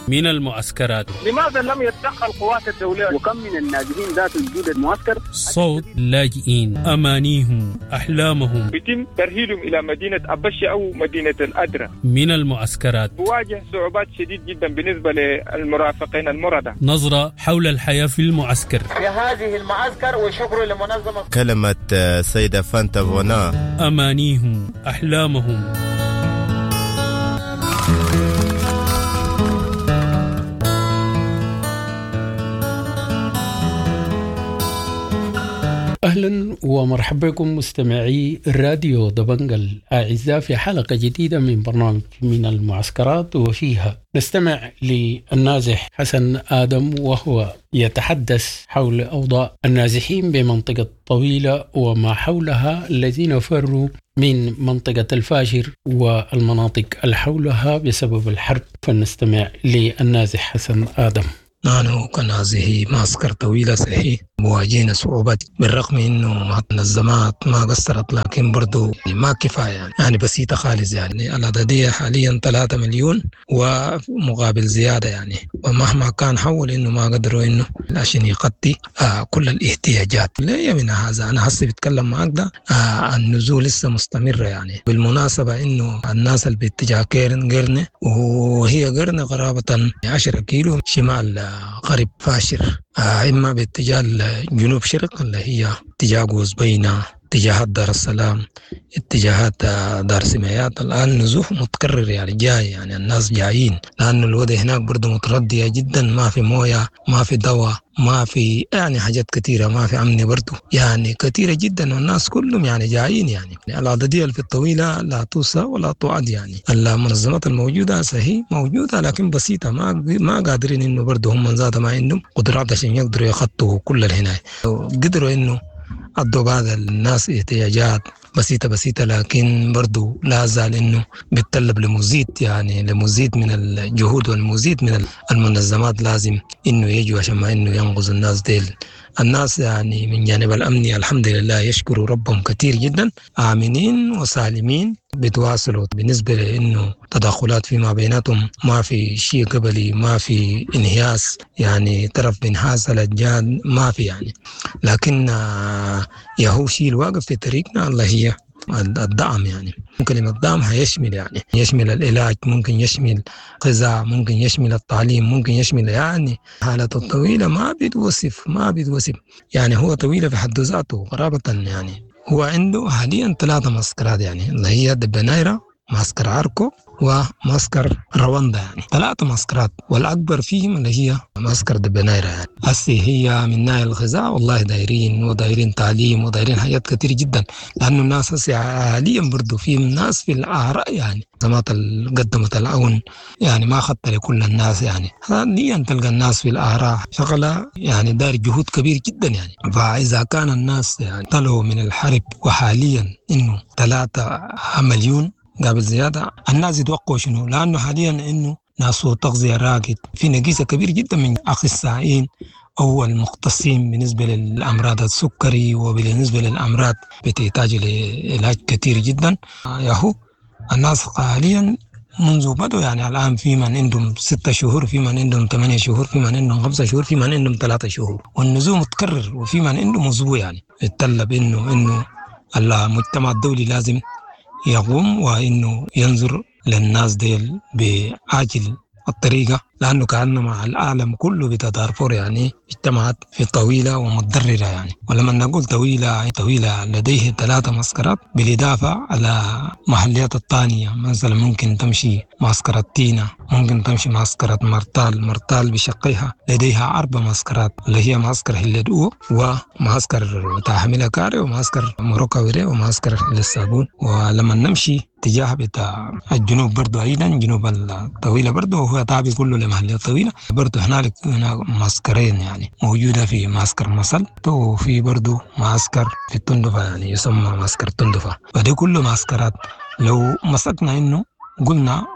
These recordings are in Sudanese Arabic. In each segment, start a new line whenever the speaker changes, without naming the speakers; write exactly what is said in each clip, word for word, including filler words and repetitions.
من المعسكرات.
لماذا لم يتدخل قوات الدولة؟
وكم من النازحين ذات وجود المعسكر؟
صوت لاجئين، أمانيهم، أحلامهم.
يتم ترحيلهم إلى مدينة أبشي أو مدينة الأدرة.
من المعسكرات
بواجه صعوبات شديد جدا بالنسبة للمرافقين المرضى.
نظرة حول الحياة في المعسكر.
في هذه المعسكر وشكر لمنظمة.
كلمة سيدة فانتا فونا.
أمانيهم، أحلامهم.
أهلا ومرحبا بكم مستمعي راديو دبنجا الأعزاء في حلقة جديدة من برنامج من المعسكرات، وفيها نستمع للنازح حسن آدم وهو يتحدث حول أوضاع النازحين بمنطقة طويلة وما حولها الذين فروا من منطقة الفاشر والمناطق الحولها بسبب الحرب. فلنستمع للنازح حسن آدم.
نحن كنازحي معسكر طويلة صحيح مواجهين صعوبات، بالرغم انه منظمات ما قصرت، لكن برضو ما كفاية يعني, يعني بسيطة خالص يعني. العددية حاليا ثلاثة مليون ومقابل زيادة يعني، ومهما كان حول انه ما قدروا انه عشان يغطي آه كل الاحتياجات. لا من هذا انا هسه بتكلم معك ده آه النزول لسه مستمرة يعني. بالمناسبة انه الناس اللي باتجاه كيرن قرنة، وهي قرنة قرابة عشرة كيلو شمال غرب فاشر، آه إما باتجاه الجنوب شرق اللي هي اتجاه قوزبينة، اتجاهات دار السلام، اتجاهات دار سمايات. الآن نزوح متكرر يعني، جاي يعني الناس جايين، لأنه الوضع هناك برضه متردية جدا، ما في موية، ما في دواء، ما في يعني حاجات كثيرة، ما في أمن برضه يعني كثيرة جدا، والناس كلهم يعني جايين يعني. العددية في الطويلة لا توصى ولا تعد يعني. المنظمات الموجودة صحيح موجودة لكن بسيطة، ما ما قادرين إنه برضه هم ذات ما عندهم قدرات عشان يقدروا يخطوا كل الهناية. قدروا إنه أدوا بعض الناس احتياجات بسيطة بسيطة، لكن برضو لا زال إنه بيتطلب لمزيد يعني لمزيد من الجهود والمزيد من المنظمات لازم إنه يجوا عشان ما إنه ينقذ الناس ديل. الناس يعني من جانب الأمني الحمد لله يشكروا ربهم كثير جدا، آمنين وسالمين بيتواصلوا. بالنسبة لأنه تدخلات فيما بيناتهم ما في شيء قبلي، ما في انهياس يعني طرف بينهاز على الجان ما في يعني، لكن يهو شيء الواقف في طريقنا الله هي الدعم يعني. ممكن الدعم هيشمل يعني يشمل العلاج، ممكن يشمل غذاء، ممكن يشمل التعليم، ممكن يشمل يعني حالة الطويلة ما بيتوصف ما بيتوصف يعني. هو طويلة في حد ذاته قرابة يعني. هو عنده حاليا ثلاثة معسكرات يعني، اللي هي دبنايرة، معسكر عاركو، ومعسكر رواندا يعني، ثلاثة معسكرات، والأكبر فيهم اللي هي معسكر دبنايرة يعني. هسي هي من ناحية الغذاء والله دايرين، ودايرين تعليم، ودايرين حاجات كتير جدا، لأنه الناس هسي حاليا برضو في ناس في الأعراء يعني. منظمات قدمت العون يعني ما أخذت لكل الناس يعني، حاليا تلقى الناس في الأعراء شغلة يعني دار جهود كبير جدا يعني. فإذا كان الناس يعني طلعوا من الحرب، وحاليا إنه ثلاثة مليون قابل زيادة، الناس يتوقعوا شنو؟ لأنه حاليا إنه ناس تغذية راقد، في نقيصة كبير جدا من أخصائيين أو المختصين بالنسبة للأمراض السكري وبالنسبة للأمراض بتحتاج لعلاج كثير جدا. ياهو الناس حاليا منذ بدوا يعني الآن في من عندهم ستة شهور، في من عندهم ثمانية شهور، في من عندهم خمسة شهور، في من عندهم ثلاثة شهور، والنزوم متكرر، وفي من عندهم أسبوع يعني. يتطلب إنه إنه المجتمع الدولي لازم يقوم وإنه ينظر للناس ديل بعاجل الطريقة، لأنه كأنما العالم كله بتاع دارفور يعني اجتمعت في طويلة ومتضررة يعني. ولما نقول طويلة، طويلة لديه ثلاثة معسكرات بالإضافة على محليات الثانية، مثلا ممكن تمشي معسكرة تينا، ممكن تمشي معسكرة مرتال، مرتال بشقيها لديها أربع معسكرات اللي هي معسكر هلدو، ومعسكر بتاع حميلة كاري، ومعسكر مروكاويري، ومعسكر للصابون. ولما نمشي اتجاه بتاع الجنوب برضو أيضا جنوب الطويلة برضو، وهو تابع كله لمحلية طويلة برضو، هنالك هناك معسكرين يعني موجودة، في معسكر مصل وفي برضو معسكر في التندفة يعني يسمى معسكر التندفة. فدي كله معسكرات. لو مسكنا إنه قلنا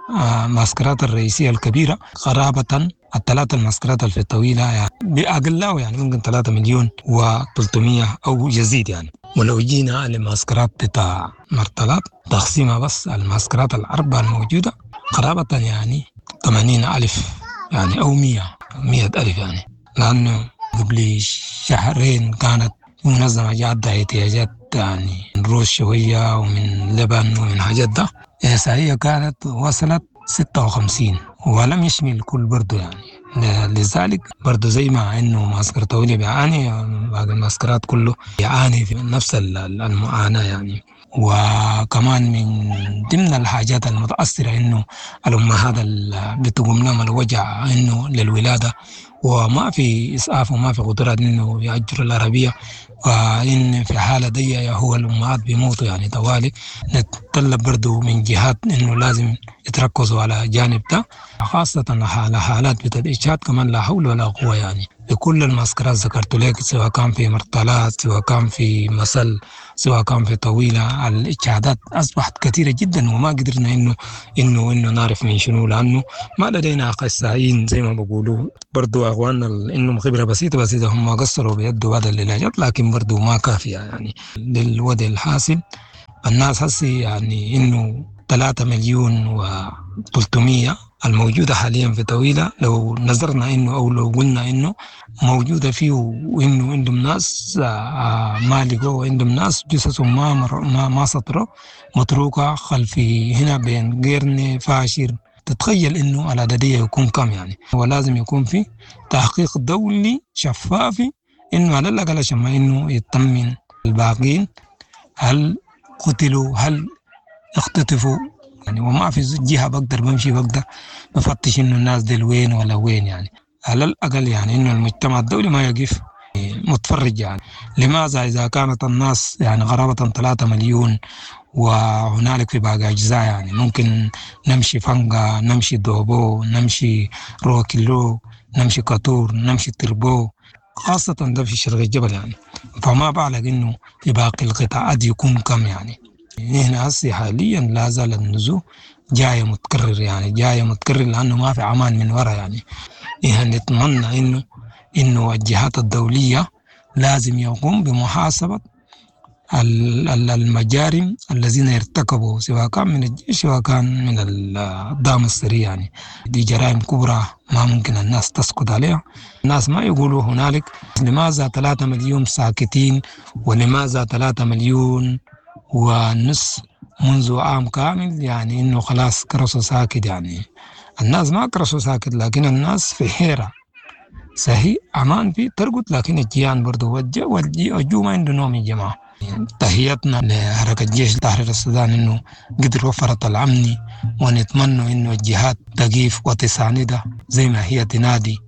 معسكرات الرئيسية الكبيرة قرابة الثلاثة المعسكرات في الطويلة يعني بأقله يعني ممكن ثلاثة مليون وثلاثمية أو يزيد يعني. ولو جينا لمعسكرات بتاع مرتلات تقسيمها بس المعسكرات الأربعة الموجودة قرابة يعني ثمانين ألف يعني أو مية مية ألف يعني، لأنه قبل شهرين كانت منظمة جات احتياجات يعني من روز شوية ومن لبن ومن حاجات ده، إحصائية كانت وصلت ستة وخمسين ولم يشمل الكل برضو يعني. لذلك برضو زي ما انه معسكر طويلة بيعاني، باقي المعسكرات كله يعاني في نفس المعاناة يعني. وكمان من ضمن الحاجات المتأثرة انه الأمهات اللي بتقوم لهم الوجع انه للولادة وما في إسعاف وما في قدرات انه يأجروا العربية، فإن في حالة دي هو الأمهات بيموتوا يعني طوالي. نتطلب برضو من جهات انه لازم يتركزوا على جانب ده، خاصة على حالات بتاعت الإجهاض كمان لا حول ولا قوة يعني. بكل المعسكرات ذكرت لك، سواء كان في مرتلات، سواء كان في مسل، سواء كان في طويلة، الإجهادات أصبحت كثيرة جدا وما قدرنا إنه إنه إنه نعرف من شنو، لأنه ما لدينا أخصائيين زي ما بقولوا. برضو أخواننا إنهم خبرة بسيطة بسيطة هم قصروا بيدوا بعض العلاجات، لكن برضو ما كافية يعني للوضع الحاصل. الناس هسي يعني إنه ثلاثة مليون وثلاثمية الموجودة حاليا في طويلة، لو نظرنا إنه أو لو قلنا إنه موجودة فيه وإنه عندهم ناس ما لقوا وعندهم ناس جثثهم ما ما ما سطروا متروكة خلفي هنا بين قرن فاشر، تتخيل إنه العددية يكون كم يعني. ولازم يكون في تحقيق دولي شفافي إنه على الأقل عشان ما إنه يطمن الباقين، هل قتلوا هل اختطفوا يعني. وما في جهة بقدر بمشي بقدر بفتش إنه الناس دي وين ولا وين يعني. على الأقل يعني إنه المجتمع الدولي ما يقف متفرج يعني. لماذا إذا كانت الناس يعني قرابة ثلاثة مليون وهنالك في باقي أجزاء يعني ممكن نمشي فنقا، نمشي دوبو، نمشي روكيلو، نمشي كاتور، نمشي تربو، خاصة ده في شرق الجبل يعني. فما بالك إنه في باقي القطاعات يكون كم يعني. نحن هسي حاليا لا زال النزوح جاية متكرر يعني، جاية متكرر لأنه ما في أمان من وراء يعني. نحن نتمنى إنه إنه الجهات الدولية لازم يقوم بمحاسبة المجارم الذين ارتكبوا، سواء كان من الجيش سواء كان من الدعم السري يعني. دي جرائم كبرى ما ممكن الناس تسكت عليها. الناس ما يقولوا هنالك لماذا ثلاثة مليون ساكتين ولماذا ثلاثة مليون ونص منذ عام كامل يعني إنه خلاص كرسوا ساكت يعني. الناس ما كرسوا ساكت، لكن الناس في حيرة. صحيح أمان في ترقد، لكن الجيان برضو والجو ما عنده نوم يا جماعة. تحياتنا لحركة جيش تحرير السودان إنه قدر وفرت الأمن، ونتمنى إنه الجهات تقيف وتساندها زي ما هي تنادي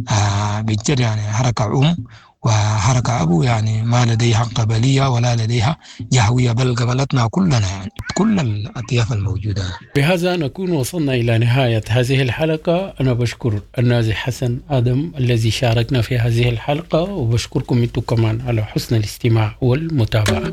آه بالجد يعني. حركة أم وحركة أبو يعني ما لديها قبلية ولا لديها جهوية، بل قبلتنا كلنا يعني كل الأطياف الموجودة.
بهذا نكون وصلنا إلى نهاية هذه الحلقة. أنا بشكر النازح حسن آدم الذي شاركنا في هذه الحلقة، وبشكركم أنتم كمان على حسن الاستماع والمتابعة.